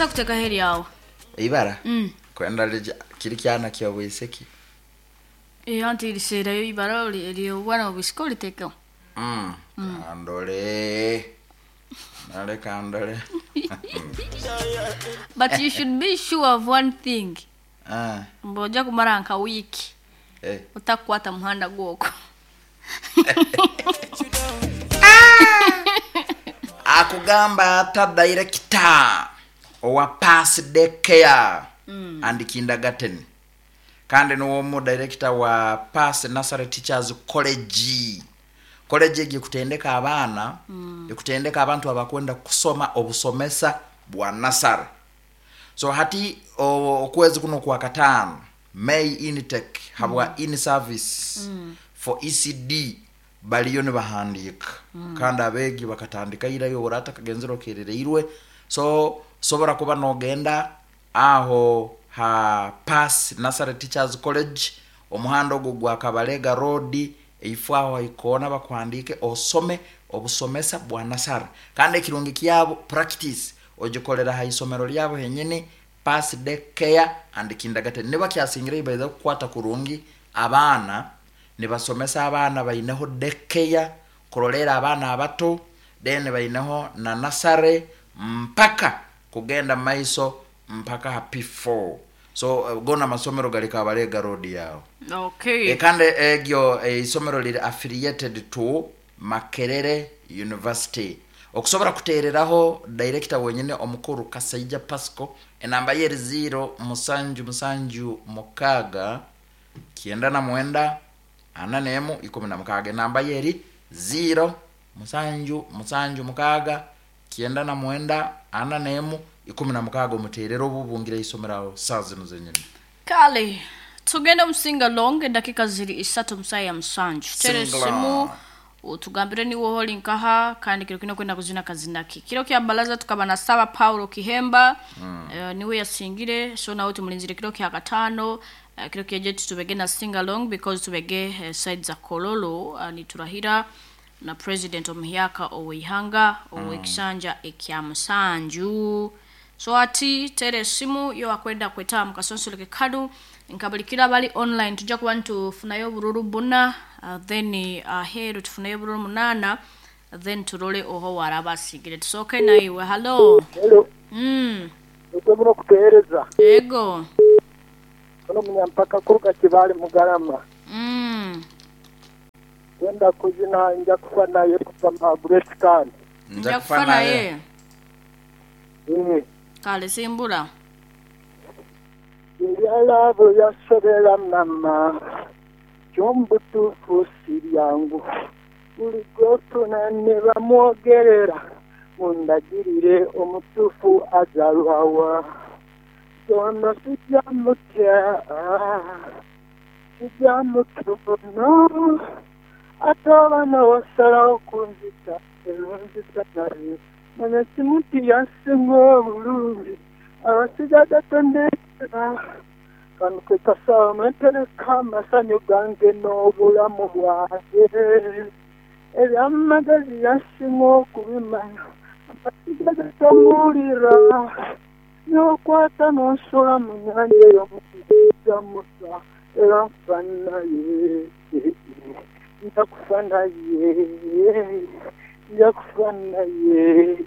Tosa kutekaho eryawe. Eibara? Kwenda rija kiri kyana ky'obwisiki. Eh, anti riseerayo ibara ery'obwana obwisiki oritekeho. Kandore. Nale kandore. But you should be sure of one thing. Ah, Mbu ojja kumara nka wiiki eh. otakukwata muhanda gwokwo. Akugamba ata director owa Pass Daycare and Kindergarten kandi niwe omu director wa Pass Nursery Teachers College. College egi ekutendeka abaana, ekutendeka abantu abakwenda kusoma obusomesa bwa nursery. So hati okwezi kunu okwakataano May intake habwa in service for ECD bariyo nibahandiika kandi abeegi bakatandika ira iwe oraba otakagenzire okerereirwe so osobora kuba nogenda aho ha Pass Nursery Teachers College omuhanda ogwo gwa Kabalega Road eifo aho ha ikoona bakuhandiike osome obusomesa bwa nasare kandi ekirungi kyabo practice ogikorera ha isomero ryabo henyini Pass Day Care and Kindergarten nibakyasingireyo baija kukwata kurungi abaana nibasomesa abaana baineho day care kuroleera abaana abato then baineho na nursery mpaka kugenda mumaiso mpaka ha P4 so goona amasomero gari Kabalega road yaho. Okay. Kandi eryo eisomero riri affiliated to Makerere University. Okusobora kuteereraho Dayirekita wenyine omukuru Kasaija Pascal, enamba ye eri ziiro musanju musanju mukaaga kyenda na mwenda ana n'emu ikumi na mukaaga. Enamba ye eri ziiro musanju musanju mukaaga kyenda na mwenda ana n'emu 16 omuteerere obu obungire eisomero aho saaha zinu zenyini. Kale tugende omu singalong edakika ziri isatu omu saaha ya musanju. Teera esimu otugambire niiwe oha ori nkaha kandi kiro kinu orikwenda kuzina kazina ki. Kiro kya baraza tukaba na Saaba Paulo Kihemba niwe yasingire so nawe tumurinzire kiro kya kataano. Kiro kyegyo titubege na singalong because tubege side za Kololo niturahira na president omuhyaka oweihanga owekisanja ekya musanju. So hati teera esimu yowakwenda kwetaba omu kasonsoreke kanu nka buri kiro abari online nituja kuba nitufunayo obururu buna then aheeru tufuneyo obururu munaana then turore oha owaraba asigire. Tusooke naiwe. Hallo. Hello. Nikwo muno kutuhereza. Ego. Ono munyampaka kuruga Kibaale Mugarama. Twenda kuzina Nja kufa naye kuva mu Grace Kandi. Nja kufa naye. Kale simbula. Ebya laavu byansobera mama, kyo mu butuufu si byangu. Buli gw'ofuna ni bamwogerera, mundagirire omutuufu azaalwa wa? Ono sija mutya, sija mutono, ate oba n'osalagho kunzita, era onzita naye. Manya kimu nti yansinga obulungi, abasigaza tondekera. Kano ke kasawo mwe ntereka amasanyu gange n'obulamu bwange. Eby'amagezi yansinga okubimanya, abasigaza tomuwulira. N'okwata n'onsuula mu nyanja eyo sija muta, era nfa naye. Nja kufa naye, nja kufa naye.